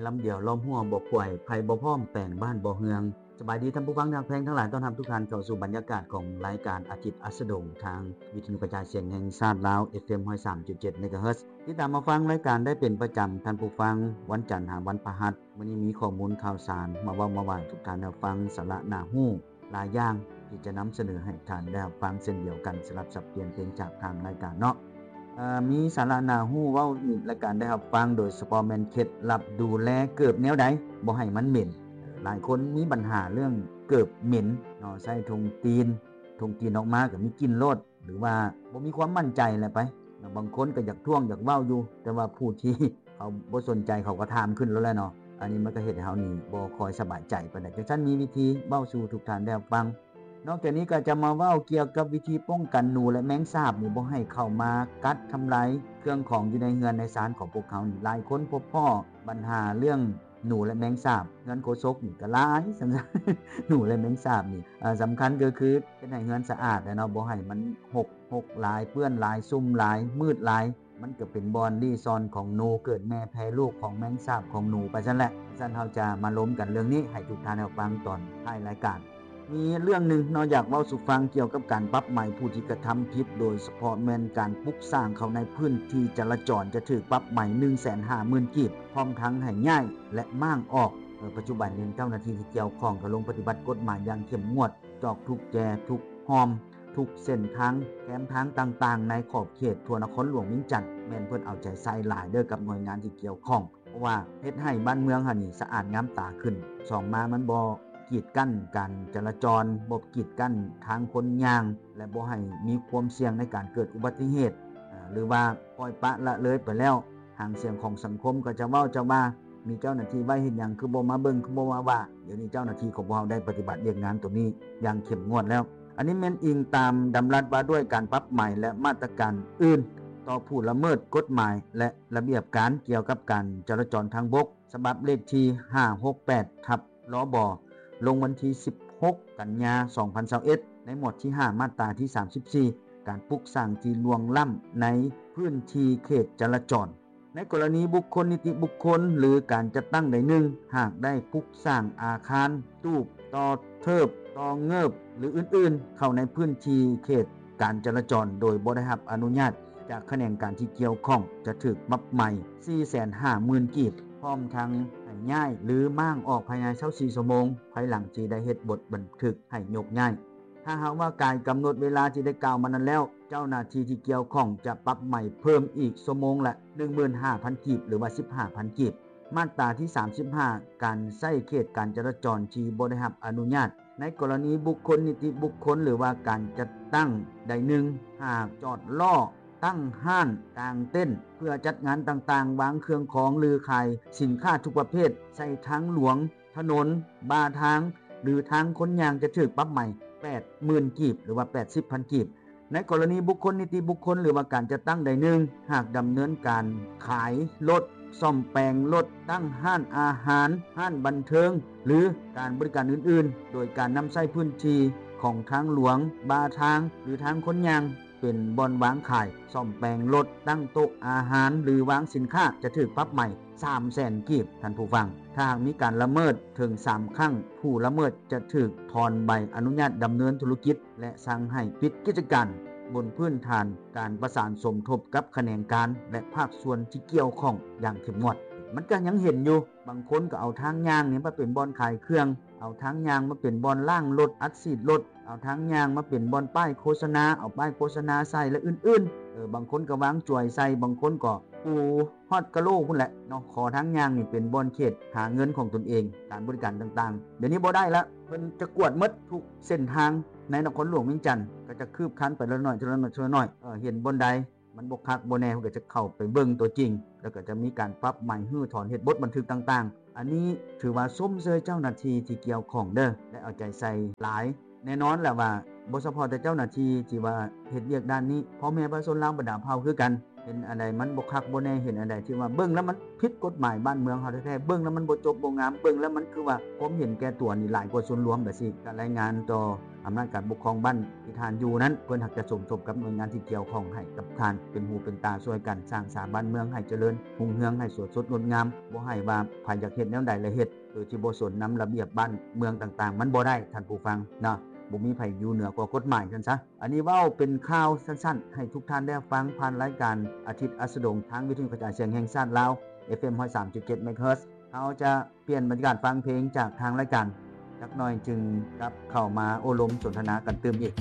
ລຳດຽວລ້ອມຮົ້ວບໍ່ຂວາຍ ໄພບໍ່ພ້ອມແປງບ້ານບໍ່ເຮືອງ. ສະບາຍດີທ່ານຜູ້ຟັງທີ່ຮັກແພງທັງຫຼາຍ, ຕ້ອນຮັບທຸກທ່ານເຂົ້າສູ່ບັນຍາກາດຂອງລາຍການອາທິດອັດສະດົງ ທາງວິທະຍຸກະຈາຍສຽງແຫ່ງຊາດລາວ ເອຟເອັມ ຮ້ອຍສາມຈຸດເຈັດ ເມກາເຮີດ. ຕິດຕາມມາຟັງລາຍການໄດ້ເປັນປະຈຳ ທ່ານຜູ້ຟັງ, ວັນຈັນຫາວັນພະຫັດ. ມື້ນີ້ມີຂໍ້ມູນຂ່າວສານມາເວົ້າມາຫວາຍທຸກທ່ານໄດ້ຟັງ, ສາລະໜ້າຮູ້ຫຼາຍຢ່າງທີ່ຈະນຳສະເໜີໃຫ້ທ່ານໄດ້ຮັບຟັງເຊັ່ນດຽວກັນ ສຳລັບສັບປ່ຽນເພງຈາກທາງລາຍການເນາະ. ເອີ ມີສາລະໜ້າຮູ້ເວົ້າໃຫ້ລາຍການໄດ້ຮັບຟັງ, ໂດຍສະເພາະແມ່ນເຄັດລັບດູແລເກີບແນວໃດບໍ່ໃຫ້ມັນເໝັນ. ຫຼາຍຄົນມີບັນຫາເລື່ອງເກີບເໝັນເນາະ, ໃຊ້ຖົງຕີນ, ຖົງຕີນອອກມາກໍມີກິ່ນໂລດ ຫຼືວ່າບໍ່ມີຄວາມໝັ້ນໃຈແຫຼະໄປເນາະ. ບາງຄົນກໍຢາກທ້ວງຢາກເວົ້າຢູ່, ແຕ່ວ່າຜູ້ທີ່ເຂົາບໍ່ສົນໃຈເຂົາກໍຖາມຂຶ້ນໂລດແຫຼະເນາະ. ອັນນີ້ມັນກໍເຮັດໃຫ້ເຮົານີ້ບໍ່ຄ່ອຍສະບາຍໃຈປານໃດ. ຈັ່ງຊັ້ນມີວິທີເວົ້າສູ່ທຸກທ່ານໄດ້ຮັບຟັງ. ນອກຈາກນີ້ກໍຈະມາເວົ້າກ່ຽວກັບວິທີປ້ອງກັນໜູ ແລະ ແມງສາບນີ້ບໍ່ໃຫ້ເຂົ້າມາກັດທຳລາຍເຄື່ອງຂອງຢູ່ໃນເຮືອນໃນຊານຂອງພວກເຮົານີ້. ຫຼາຍຄົນພົບພໍ້ບັນຫາເລື່ອງໜູ ແລະ ແມງສາບ. ເຮືອນໂຄສົກນີ້ກໍຫຼາຍ ສັງສານໜູ ແລະ ແມງສາບນີ້. ເອີ ສຳຄັນກໍຄືເຮັດໃຫ້ເຮືອນສະອາດແຫຼະເນາະ, ບໍ່ໃຫ້ມັນຮົກ ຮົກຫຼາຍ, ເປື້ອນຫຼາຍ, ຊຸ່ມຫຼາຍ, ມືດຫຼາຍ. ມັນກໍເປັນບ່ອນລີ້ຊ່ອນຂອງໜູ, ເກີດແມ່ແຜ່ລູກຂອງແມງສາບຂອງໜູໄປຊັ້ນແຫຼະ. ຊັ້ນເຮົາຈະມາລົມກັນເລື່ອງນີ້ໃຫ້ທຸກທ່ານໄດ້ຟັງຕອນທ້າຍລາຍການ. ມີເລື່ອງໜຶ່ງເນາະ ຢາກເວົ້າສູ່ຟັງກ່ຽວກັບການປັບໃໝຜູ້ທີ່ກະທຳຜິດ, ໂດຍສະເພາະແມ່ນການປຸກສ້າງເຂົ້າໃນພື້ນທີ່ຈະລາຈອນ ຈະຖືກປັບໃໝໜຶ່ງແສນຫ້າໝື່ນກີບ, ພ້ອມທັງໃຫ້ຍ້າຍ ແລະ ມ້າງອອກ. ເອີ ປັດຈຸບັນນີ້ເຈົ້າໜ້າທີ່ທີ່ກ່ຽວຂ້ອງກໍລົງປະຕິບັດກົດໝາຍຢ່າງເຂັ້ມງວດ ຈອກທຸກແຈ ທຸກຮ່ອມ ທຸກເສັ້ນທາງ ແຄມທາງຕ່າງໆ ໃນຂອບເຂດທົ່ວນະຄອນຫຼວງວຽງຈັນ. ແມ່ນເພິ່ນເອົາໃຈໃສ່ຫຼາຍເດີ້ກັບໜ່ວຍງານທີ່ກ່ຽວຂ້ອງ, ເພາະວ່າເຮັດໃຫ້ບ້ານເມືອງເຮົານີ້ສະອາດງາມຕາຂຶ້ນ. ສອງມາ ມັນບໍ່ກີດກັ້ນການຈະລາຈອນ, ບໍ່ກີດກັ້ນທາງຄົນຍ່າງ ແລະ ບໍ່ໃຫ້ມີຄວາມສ່ຽງໃນການເກີດອຸບັດຕິເຫດ ເອີ ຫຼືວ່າປ່ອຍປະລະເລີຍໄປແລ້ວ. ຫາງສຽງຂອງສັງຄົມກໍຈະເວົ້າຈະວ່າ ມີເຈົ້າໜ້າທີ່ໄວ້ເຮັດຫຍັງ ຄືບໍ່ມາເບິ່ງ ຄືບໍ່ມາວ່າ. ດຽວນີ້ເຈົ້າໜ້າທີ່ຂອງພວກເຮົາໄດ້ປະຕິບັດວຽກງານຕົວນີ້ຢ່າງເຂັ້ມງວດແລ້ວ. ອັນນີ້ແມ່ນອີງຕາມດຳລັດວ່າດ້ວຍການປັບໃໝ ແລະ ມາດຕະການອື່ນຕໍ່ຜູ້ລະເມີດກົດໝາຍ ແລະ ລະບຽບການກ່ຽວກັບການຈະລາຈອນທາງບົກ ສະບັບເລກທີຫ້າຫົກແປດ ທັບ ລບ ລົງວັນທີສິບຫົກ ກັນຍາ ສອງພັນຊາວເອັດ ໃນໝວດທີຫ້າ ມາດຕາທີສາມສິບສີ່ ການປຸກສ້າງທີ່ລ່ວງລ້ຳໃນພື້ນທີ່ເຂດຈະລາຈອນ. ໃນກໍລະນີບຸກຄົນ, ນິຕິບຸກຄົນ ຫຼື ການຈັດຕັ້ງໃດໜຶ່ງ ຫາກໄດ້ປຸກສ້າງອາຄານ, ຕູບ, ຕໍ່ເທີບ, ຕໍ່ເງີບ ຫຼື ອື່ນໆ ເຂົ້າໃນພື້ນທີ່ເຂດການຈະລາຈອນ ໂດຍບໍ່ໄດ້ຮັບອະນຸຍາດຈາກຂະແໜງການທີ່ກ່ຽວຂ້ອງ ຈະຖືກປັບໃໝສີ່ແສນຫ້າໝື່ນກີບ ພ້ອມທັງໃຫ້ຍ້າຍ ຫຼື ມ້າງອອກພາຍໃນຊາວສີ່ຊົ່ວໂມງ ພາຍຫຼັງທີ່ໄດ້ເຮັດບົດບັນທຶກໃຫ້ຍົກຍ້າຍ. ຖ້າຫາກວ່າກາຍກຳນົດເວລາທີ່ໄດ້ກ່າວມານັ້ນແລ້ວ, ເຈົ້າໜ້າທີ່ທີ່ກ່ຽວຂ້ອງຈະປັບໃໝເພີ່ມອີກຊົ່ວໂມງລະໜຶ່ງໝື່ນຫ້າພັນກີບ ຫຼືວ່າສິບຫ້າພັນກີບ. ມາດຕາທີສາມສິບຫ້າ ການໃຊ້ເຂດການຈະລາຈອນທີ່ບໍ່ໄດ້ຮັບອະນຸຍາດ. ໃນກໍລະນີບຸກຄົນ, ນິຕິບຸກຄົນ ຫຼືວ່າການຈັດຕັ້ງໃດໜຶ່ງ ຫາກຈອດລໍ້, ຕັ້ງຮ້ານ, ກາງເຕັນເພື່ອຈັດງານຕ່າງໆ, ວາງເຄື່ອງຂອງ ຫຼື ຂາຍສິນຄ້າທຸກປະເພດໃສ່ທາງຫຼວງ, ຖະໜົນ, ບ່າທາງ ຫຼື ທາງຄົນຍ່າງ ຈະຖືກປັບໃໝແປດໝື່ນກີບ ຫຼືວ່າແປດສິບພັນກີບ. ໃນກໍລະນີບຸກຄົນ, ນິຕິບຸກຄົນ ຫຼືວ່າການຈັດຕັ້ງໃດໜຶ່ງ ຫາກດຳເນີນການຂາຍລົດ, ສ້ອມແປງລົດ, ຕັ້ງຮ້ານອາຫານ, ຮ້ານບັນເທີງ ຫຼື ການບໍລິການອື່ນໆ ໂດຍການນຳໃຊ້ພື້ນທີ່ຂອງທາງຫຼວງ, ບ່າທາງ ຫຼື ທາງຄົນຍ່າງ ເປັນບ່ອນວາງຂາຍ, ສ້ອມແປງລົດ, ຕັ້ງໂຕະອາຫານ ຫຼື ວາງສິນຄ້າ ຈະຖືກປັບໃໝສາມແສນກີບ. ທ່ານຜູ້ຟັງ, ຖ້າຫາກມີການລະເມີດເຖິງສາມຄັ້ງ, ຜູ້ລະເມີດຈະຖືກຖອນໃບອະນຸຍາດດຳເນີນທຸລະກິດ ແລະ ສັ່ງໃຫ້ປິດກິດຈະການ ບົນພື້ນຖານການປະສານສົມທົບກັບຂະແໜງການ ແລະ ພາກສ່ວນທີ່ກ່ຽວຂ້ອງຢ່າງເຂັ້ມງວດ. ມັນກໍຍັງເຫັນຢູ່, ບາງຄົນກໍເອົາທາງຍ່າງນີ້ມາເປັນບ່ອນຂາຍເຄື່ອງ, ເອົາທາງຍ່າງມາເປັນບ່ອນລ້າງລົດ, ອັດສີດລົດ, ເອົາທາງຍ່າງມາເປັນບ່ອນປ້າຍໂຄສະນາ, ເອົາປ້າຍໂຄສະນາໃສ່ ແລະ ອື່ນໆ. ເອີ ບາງຄົນກໍວາງຈວາຍໃສ່, ບາງຄົນກໍປູຮອດກະໂຫຼພຸ້ນແຫຼະເນາະ. ຂໍທາງຍ່າງນີ້ເປັນບ່ອນເຂດຫາເງິນຂອງຕົນເອງ, ການບໍລິການຕ່າງໆ ດຽວນີ້ບໍ່ໄດ້ລະ, ເພິ່ນຈະກວດໝົດທຸກເສັ້ນທາງໃນນະຄອນຫຼວງວຽງຈັນ, ກໍຈະຄືບຄານໄປເທື່ອລະໜ້ອຍ, ເທື່ອລະໜ້ອຍ, ເທື່ອລະໜ້ອຍ. ເອີ ເຫັນບ່ອນໃດມັນບໍ່ຄັກບໍ່ແນ່, ເພິ່ນກໍຈະເຂົ້າໄປເບິ່ງຕົວຈິງ, ແລ້ວກໍຈະມີການປັບໃໝ, ຮື້ຖອນ, ເຮັດບົດບັນທຶກຕ່າງໆ. ອັນນີ້ຖືວ່າຊົມເຊີຍເຈົ້າໜ້າທີ່ທີ່ກ່ຽວຂ້ອງເດີ້ ແລະ ເອົາໃຈໃສ່ຫຼາຍ. ແນ່ນອນແຫຼະວ່າບໍ່ສະເພາະແຕ່ເຈົ້າໜ້າທີ່ທີ່ວ່າເຮັດວຽກດ້ານນີ້, ພໍ່ແມ່ປະຊາຊົນລາວບັນດາເຜົ່າຄືກັນ ເຫັນອັນໃດມັນບໍ່ຄັກບໍ່ແນ່ ເຫັນອັນໃດທີ່ວ່າເບິ່ງແລ້ວມັນຜິດກົດໝາຍບ້ານເມືອງເຮົາແທ້ໆ ເບິ່ງແລ້ວມັນບໍ່ຈົບບໍ່ງາມ ເບິ່ງແລ້ວມັນຄືວ່າຄວາມເຫັນແກ່ຕົວນີ້ຫຼາຍກວ່າສ່ວນລວມແບບຊີ້ ກະລາຍງານຕໍ່ອຳນາດການປົກຄອງບ້ານທີ່ທ່ານຢູ່ນັ້ນ ເພິ່ນຫາກຈະສົມທົບກັບໜ່ວຍງານທີ່ກ່ຽວຂ້ອງໃຫ້ກັບທ່ານເປັນຫູເປັນຕາຊ່ວຍກັນສ້າງສາບ້ານເມືອງໃຫ້ຈະເລີນຮຸ່ງເຮືອງ ໃຫ້ສວຍສົດງົດງາມ ບໍ່ໃຫ້ວ່າໃຜຢາກເຮັດແນວໃດລະເຮັດ ໂດຍທີ່ບໍ່ສົນນຳລະບຽບບ້ານເມືອງຕ່າງໆ ມັນບໍ່ໄດ້ທ່ານຜູ້ຟັງເນາະ ບໍ່ມີໃຜຢູ່ເໜືອກວ່າກົດໝາຍຊັ້ນຊະ. ອັນນີ້ເວົ້າເປັນຂ່າວສັ້ນໆ ໃຫ້ທຸກທ່ານໄດ້ຟັງຜ່ານລາຍການອາທິດອັສດງ ທາງວິທະຍຸກະຈາຍສຽງແຫ່ງຊາດລາວ ເອັຟເອັມ ຮ້ອຍສາມຈຸດເຈັດ ເມກະເຮີດ. ເຮົາຈະປ່ຽນບັນຍາກາດຟັງເພງຈາກທາງລາຍການຈັກໜ່ອຍ ຈຶ່ງກັບເຂົ້າມາໂອ້ລົມສົນທະນາກັນຕື່ມອີກ.